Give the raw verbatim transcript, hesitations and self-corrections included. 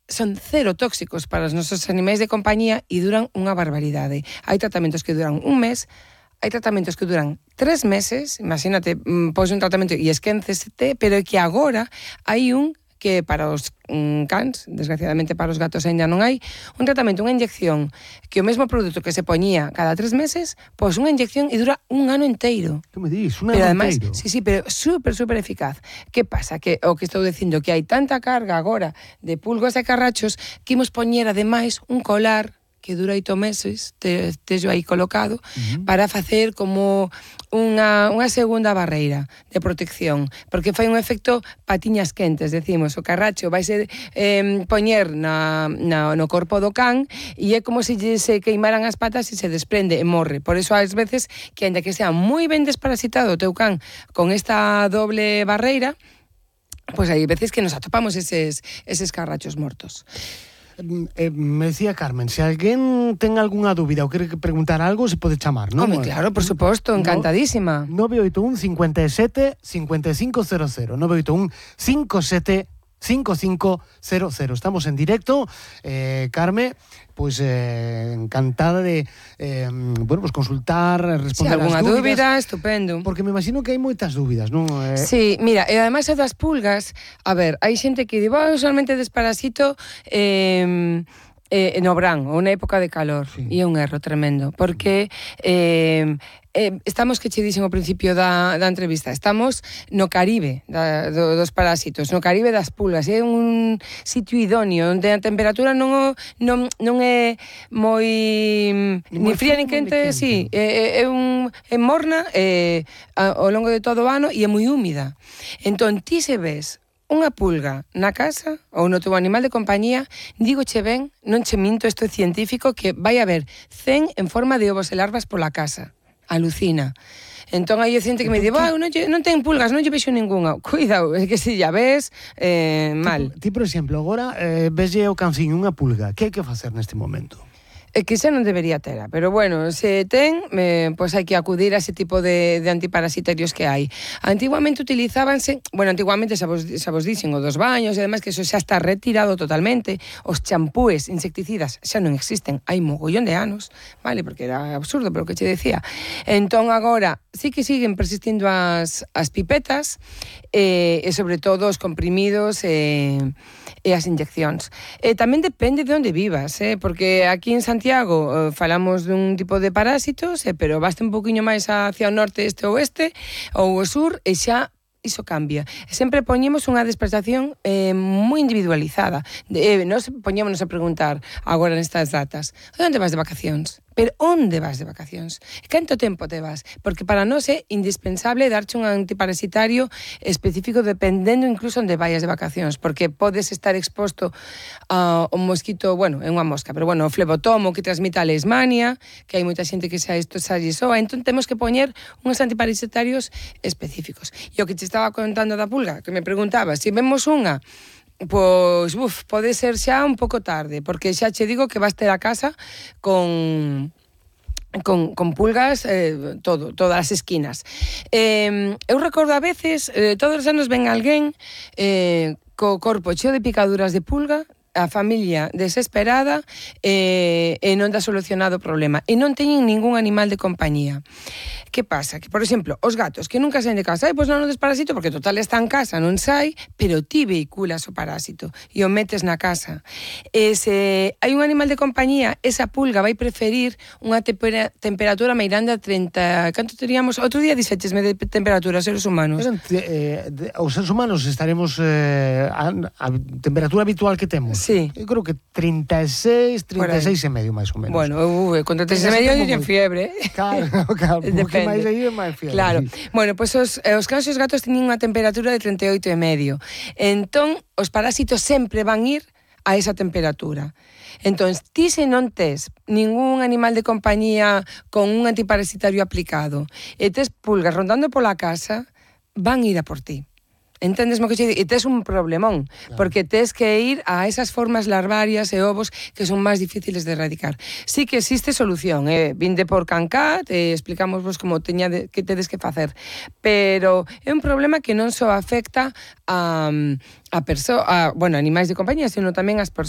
son cero tóxicos para os nosos animais de compañía e duran unha barbaridade. Hai tratamentos que duran un mes, hai tratamentos que duran tres meses, imagínate, pois un tratamento e esquénceste, pero é que agora hai un que para os mm, cans, desgraciadamente para os gatos ainda non hai, un tratamento, unha inyección, que o mesmo produto que se poñía cada tres meses, pois unha inyección e dura un ano inteiro. Que me dis? Un pero ano además, inteiro? sí, sí, pero super, super eficaz. Que pasa? Que o que estou dicindo, que hai tanta carga agora de pulgos e carrachos que imos poñer ademais un colar que dura oito meses, te, tejo aí colocado, uh-huh. para facer como unha, unha segunda barreira de protección, porque fai un efecto patiñas quentes, decimos, o carracho vai ser eh, poñer na, na, no corpo do can e é como se se queimaran as patas e se desprende e morre. Por eso ás veces que ainda que sea moi ben desparasitado o teu can con esta doble barreira, pois hai veces que nos atopamos eses, eses carrachos mortos. Eh, me decía Carmen, se alguén ten algunha dúbida ou quere preguntar algo, se pode chamar, non? Home, claro, por suposto, encantadísima. nove oito un, cinco sete, cinco cinco cero cero, nove oito un, cinco sete, cinco cinco cero cero. Estamos en directo, eh, Carme, pois eh, encantada de eh, bueno, pues consultar, responder sí, alguna as dúbidas. dúbida, estupendo. Porque me imagino que hai moitas dúbidas, non? Eh... Sí, mira, e ademais é das pulgas, a ver, hai xente que di, oh, usualmente desparasito eh, eh, no verán, ou na época de calor, sí. E é un erro tremendo, porque eh, eh, estamos, que che dixen ao principio da, da entrevista, estamos no Caribe da, do, dos parásitos, no Caribe das pulgas, é un sitio idóneo, onde a temperatura non, non, non é moi ni, ni fría ni quente, sí, é, é, un, é morna é, ao longo de todo o ano e é moi húmida. Entón, ti se ves unha pulga na casa ou no teu animal de compañía, digo che ben, non che minto, isto é científico, que vai haber cen en forma de ovos e larvas pola casa. Alucina. Entón hai xente que me di, "Bah, non, non ten pulgas, non lle vexo ningunha." Cuidado, é que se ya ves, eh, mal. Ti, ti, por exemplo, agora eh, veslle o canciño unha pulga, que hai que facer neste momento? É que xa non debería tera, pero bueno, se ten, eh, pois hai que acudir a ese tipo de, de antiparasitarios que hai. Antiguamente utilizábanse, bueno, antiguamente xa vos, xa vos dixen, o dos baños, e además que eso xa está retirado totalmente, os champúes insecticidas xa non existen, hai mogollón de anos, vale, porque era absurdo, pero o que che decía. Entón agora, sí que siguen persistindo as, as pipetas, eh, e sobre todo os comprimidos e, e as inyeccións. E tamén depende de onde vivas, eh, porque aquí en Santiago Santiago, eh, falamos dun tipo de parásitos, eh, pero basta un poquinho máis hacia o norte, este ou oeste, ou o sur, e xa iso cambia. Sempre poñemos unha despertación eh, moi individualizada. De, eh, nos poñémonos a preguntar agora nestas datas, onde vas de vacacións? Pero onde vas de vacacións? Canto tempo te vas? Porque para nós é indispensable darche un antiparasitario específico dependendo incluso onde vayas de vacacións, porque podes estar exposto a un mosquito, bueno, é unha mosca, pero bueno, o flebotomo que transmite a leishmania, que hai moita xente que xa isto xa lle soa, entón temos que poñer uns antiparasitarios específicos. E o que te estaba contando da pulga, que me preguntaba, se vemos unha, pois, uf, pode ser xa un pouco tarde, porque xa che digo que vas ter a casa con con, con pulgas eh, todo, todas as esquinas. Eh, eu recordo a veces, eh, todos os anos ven alguén eh, co corpo cheo de picaduras de pulga, a familia desesperada e, e non dá solucionado o problema. E non teñen ningún animal de compañía. Que pasa? Que, por exemplo, os gatos que nunca saen de casa, ai, pois non o desparasito porque total está en casa, non sai, pero ti vehiculas o parásito e o metes na casa. E se hai un animal de compañía, esa pulga vai preferir unha tempera, temperatura meirande a treinta... Canto teríamos? Outro día dixéchesme de temperatura, seres humanos. Eran, eh, de, os seres humanos estaremos eh, a, a temperatura habitual que temos. Sí. Eu creo que treinta e seis, trinta e seis e medio, máis ou menos. Bueno, uh, con treinta e seis e medio eu en fiebre. Claro, claro, porque máis aí é máis fiebre. Claro. Sí. Bueno, pois pues os, os cans e os gatos teñen unha temperatura de treinta e oito e medio. Entón, os parásitos sempre van ir a esa temperatura. Entón, ti se non tes ningún animal de compañía con un antiparasitario aplicado e tes pulgas rondando pola casa, van ir a por ti. Entendes mo que che digo? E tes un problemón, claro, porque tes que ir a esas formas larvarias e ovos que son máis difíciles de erradicar. Sí que existe solución, eh? Vinde por Cancat, eh, explicamos vos como teña de, que tedes que facer, pero é un problema que non só afecta a, a, perso a bueno, animais de compañía, sino tamén as persoas.